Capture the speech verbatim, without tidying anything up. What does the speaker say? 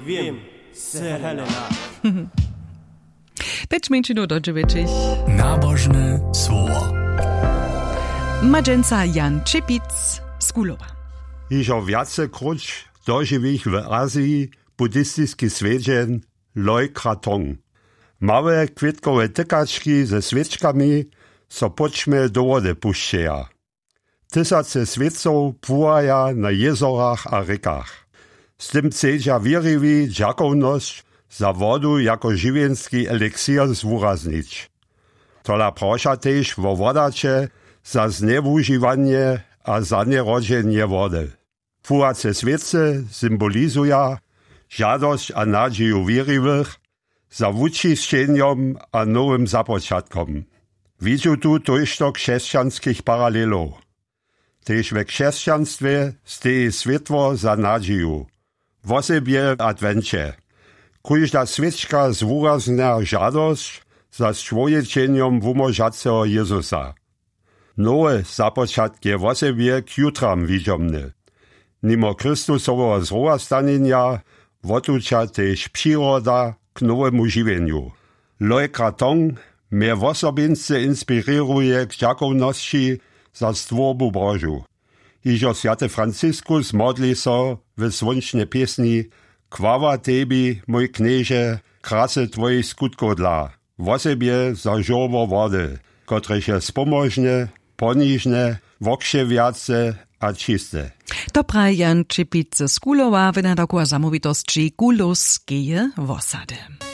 Wiem, se Helena. Teč mjeńšinu do dźewjećich. Nabožne słowo. Ma dźensa Jan Čepic z Kulowa. Hižo wjace króć dožiwich w Aziji buddhistiski swjedźeń Loj Kratong. Małe kwětkowe tykački ze swěčkami so póćmje do wody pušćeja. Tysace swěcow płuwaja na jězorach a rěkach. Z tym chcedźa wěriwi dźakownosć za wodu jako žiwjenski eliksir zwuraznić. Tola proša tež wo wodaće za znjewužiwanje a zanjerodźenje wody. Płuwace swěcy symbolizuja žadosć a nadźiju wěriwych za wučisćenjom a nowym započatkom. Widźu tu tójšto křesćanskich paralelow. Tež we křesćanstwje steji swětło za nadźiju, wosebje w adwenće. Kóžda swěčka zwuraznja žadosć za sčłowjećenjom wumóžaceho Jězusa. Nowy započatk je wosebje k jutram widźomny. Nimo Chrystusoweho zrowastanjenja wotuća tež přiroda k nowemu žiwjenju. Loj Kratong mje wosobinsce inspirěruje k dźakownosći za stwórbu Božu. Hižo swjaty Franciskus modli so w słónčnej pěsni: „Chwała tebi, mój Knježe, krasy twojich skutkow dla, wosebje za žórło wody, kotrež je spomóžne, ponižne, wokřewjace a čiste.“ To praji Jan Čepic z Kulowa, wynadaku a zamołwitosći Kulowskeje wosady.